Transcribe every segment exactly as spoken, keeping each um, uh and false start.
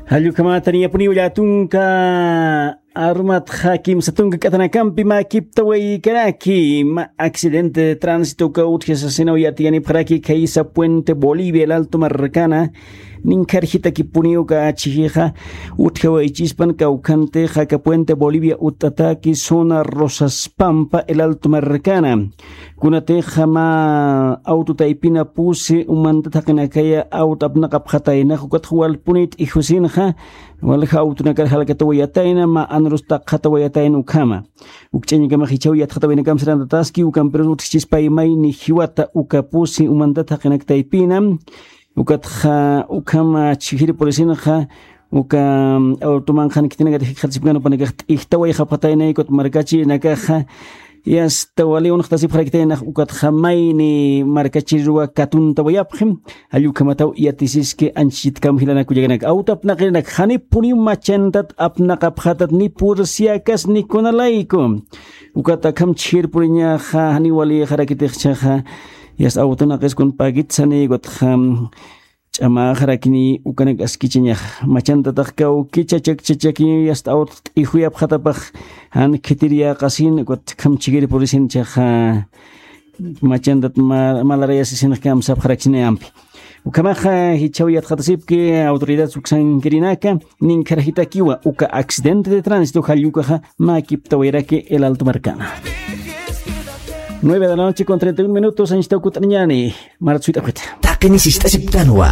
Jallukhamataniya puniw llatunka armatxa kimsa tunka k'atanakampi mä kiptawaykaraki, mä accidente de tránsito uka utjasasinaw yatiyanipxaraki khaysa Puente Bolivia, El Alto Marcana, ninkharjitaki puniw uka chijixa utjawaychispan kawkhantixa aka Puente Bolivia utt'ataki zona Rosas Pampa, El Alto Marcana. Kunatixa mä auto taypina pusi umantata jaqinakaya auto apnaqapxataynax, ukatxa walpunit ijusinxa, walja autonakar jalkatawayatayna, mä anrus taqxatawayatayna ukhama. Ukch'añakamax jichhaw yatxatawaynakam sarantataski, ukampirus utjchispay mayni jiwata uka pusi umantata jaqinak taypina, ukatxa ukhama chhijir purisinxa, uka, mm, automanxan khitinakat jikxatasipkan upanakax t'ijtawayxapxatayna, ukat markachirinakaxa, yasta wali unxtasipxarakitaynax, ukatxa mayni markachiruwa katuntawayapxi, jallukhamataw yatisiski anchhitkam jilanak kullakanak, auto apnaqirinak, janipuniw machantat apnaqapxatat, ni pursiakas ni kunalayku. Ukat akham chhijir puriñaxa, janiw walixarakitix jichhaxa, yasta autonakis kun pagitsani, ukatxa, ch'amaxarakini ukanak askichañax. Machantataq kawkicha chakchachaki yasta awt t'ijuyapxatapax, jan khitiriyäqasin, ukat akham chhijir purisin jichhaxa, machantat ma-, malarayasisinx kamsapxarakchinayampi. Ukhamaxa jichhaw yatxatasipki autoridad uksankirinaka, ninkharjitakiwa uka accidente de tránsito jallukaxa mä kiptawayraki El Alto Marcana. Nueve de la noche con treinta y un minutos, anchhitaw kut'añani. Marat suyt'apxita. Taqini sist'asiptanwa.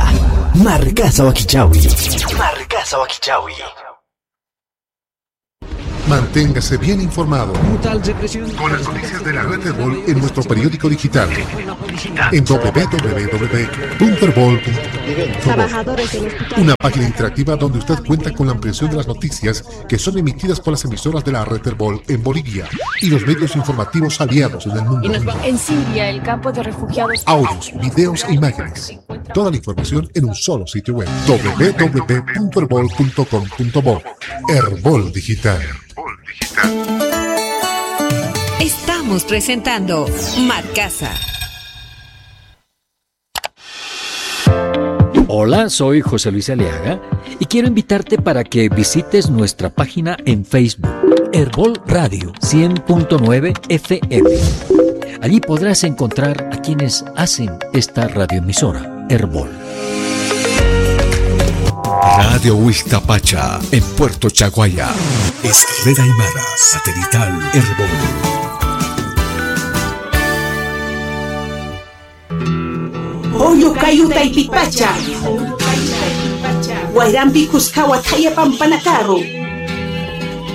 Markasa wakichawi. Markasa wakichawi. Manténgase bien informado con las noticias de la red Erbol en nuestro periódico digital en w w w punto erbol punto com. Una página interactiva donde usted cuenta con la ampliación de las noticias que son emitidas por las emisoras de la red Erbol en Bolivia y los medios informativos aliados en el mundo. En Siria, el campo de refugiados. Audios, videos e imágenes. Toda la información en un solo sitio web, w w w punto erbol punto com punto bo. Erbol Digital. Estamos presentando Markasa. Hola, soy José Luis Aliaga y quiero invitarte para que visites nuestra página en Facebook, Erbol Radio cien punto nueve F M. Allí podrás encontrar a quienes hacen esta radioemisora, Erbol. Radio Huixtapacha, en Puerto Chaguaya. Es red aymara satelital Erbol. Julio kayu taypipacha. Wayrampi kuskawa thaya pampanakaru.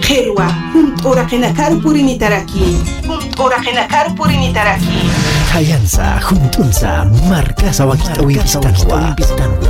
Qhirwa, junt'uraqinakaru purinitaraki. Junt'uraqinakaru purinitaraki. Thayansa, junt'unsa, Markasa wakich'awimpistanwa.